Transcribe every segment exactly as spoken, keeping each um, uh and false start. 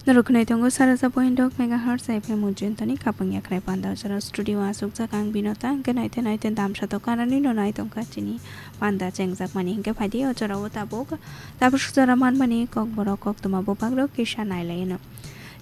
Norok khwnai tongo saraja point dok megahertz F M Ujjayantani khapang yakhrai panda jora studio asukjak ang Binota, hwnkhe naite naite damsa to kanani no nai tongkha chini panda chengjak mani, hwnkhe phaidi o jora o tabuk tabuk sujora manmani kokborok koktwma bubagrok kisa nailaino.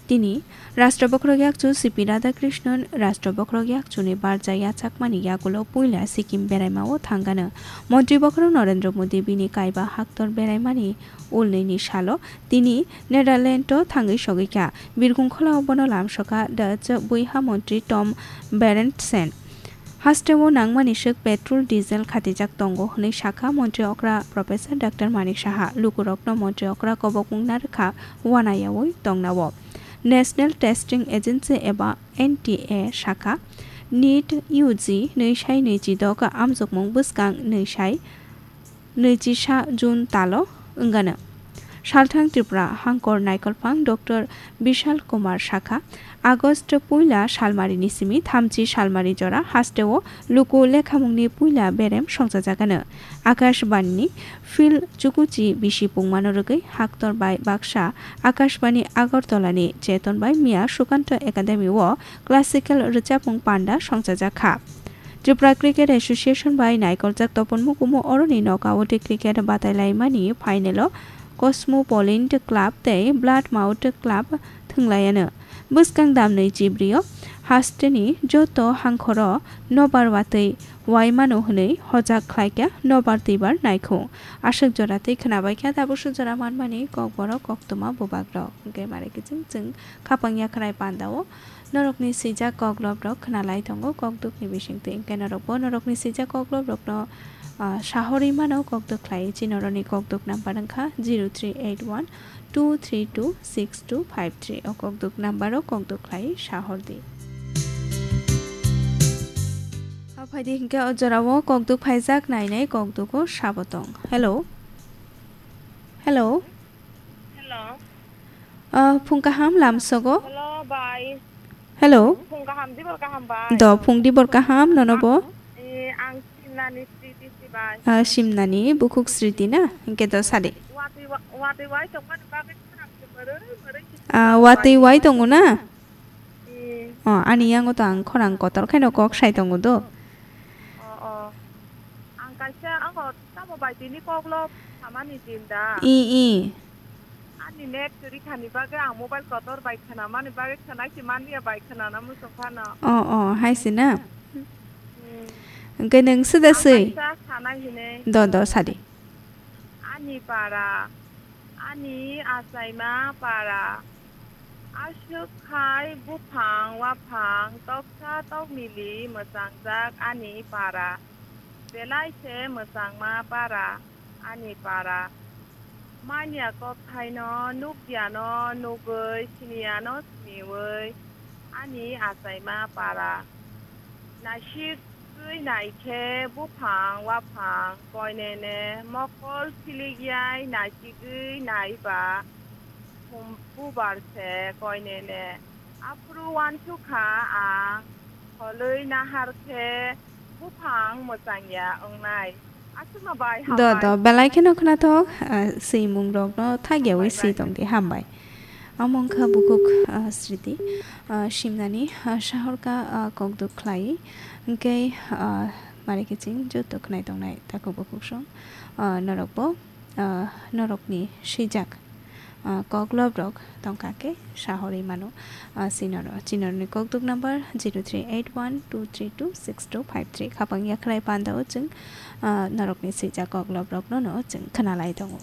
Tini Rashtra Bokhorok Yakchu C P Radhakrishnan Rashtra Bokhorok Yakchuni barja yachakmani yagulo puila Sikkim beraima o thangano. Montri Bokhorok Narendra Modi bini kaiba haktor beraimani ulnini salo tini Netherlands o thangwi sogwi kha. Birkhung khulao bono lamsokha Dutch buiha montri Tom Berendsen. Hasteo nangmani swk petrol, diesel khatijak tongo hwnwi sakha montri okra Professor Doctor Manik Saha. Lukurokno montri okra kobokmung narwkha wanayaui tongnao. National Testing Agency eba N T A sakha, NEET U G nwi sai nwi chi dok amjokmung bwskang nwi sai nwi chi sa June talo wngano. Salthang Tripura hangkor naikolphang Doctor Bishal Kumar sakha, August puila salmarini simi thamchi salmari jora hasteo luku lekhamungni puila berem songchajagano. Akashbanini Phil Chukuchi bisi pungmano rwgwi haktor bai baksa Akashbani Agartala ni Cheton bai miya Sukanto Academy o classical rwchapmung panda songchajak kha. Tripura Cricket Association bai naikoljak topon mukumu oroni knockout cricket batailaimani final o Cosmopolitan Club tei Blood Mouth Club thwnglaiano. Bwskang damnwi chibrio hasteni joto hangkhoro nobar watwi waimano hwnwi hojak khlaikha nobar twibar naikhung. Aswk jora tei khwnabaikha tabuk sujora manmani kokborok koktwma bubagrok. Hwnkhe mare kiching chwng khapang yakhrai pandao norokni swijak koklobrok khwnalai tongo. Kokdukni bisingtwi hwnkhe norokbo norokni swijak koklobrokno, ah, sahorwi mano. Kokduk khlai chinoroni kokduk number wngkha zero three eight one two three two six two five three. O kokduk number o kokduk khlai sahordi. Aphaidi hwnkhe o jorao kokduk phaijak nainai kokdugo sabo tong. Hello. Hello. Hello. Ah, phung kaham lamsogo. Hello, bai. Hello. Phung kaham, dibor kaham, bai. Do, phung dibor kaham, nono bo? Eh, ang Simnani Sriti si, bai. Ah, Simnani, bukhuk Sriti na? Hwnkhe do sadi. Watwi wa-, watwi wai tongmani bagwi khorang se moro, moro se. Ah, watwi wai tongo na? Eh. Oh, ani yango to ang khorang kotor khaino kok sai tongo do. Oh, oh. Ang kaisa, ang Tamo bai tini koklo samani din da? I, i. Ani net kwrwi khani bagwi ang mobile kotor bai khwnamani bagwi khwnai se manliya bai khwnana muchung phano. O, o, hai se na? Hmm. Hwnkhe nwng suda swi? Ang kaisa sanai hinwi. Do, do, sadi. Ani para, ani achaima para. Aswk khai buphang waphang toksa tokmili mwchangjak ani para. Belai se mwchangma para ani para. Manya kokthaino nukjano nugwi, siniyano siniwi ani achaima para. Naisik Twi naikhe buphang waphang koinene mokol philikyai naisigwi naiba, bubar se koinene. Aphuru uansukha ang, holwi naharkhe buphang mwchangya wngnai. Aswkno bai. Do, hambai. Do, belai kheno khwnathok, ah, swimungrokno thakyawi swi tongdi, hambai. Amo wngkha bukhuk, ah, Sriti, ah, Simnani, ah, sahorka, ah, kokduk khlai. Hwnkhe, ah, mare kiching joto khwnai tongnai takhuk bukhuk song, ah, norokbo, ah, norokni swijak, ah, koklobrok tongkha khe sahorwi mano, ah, chinoro. Chinoroni kokduk number zero three eight one two three two six two five three. Khapang yakhrai pandao chwng, ah, norokni swijak koklobrokno no chwng khwnalai tongo.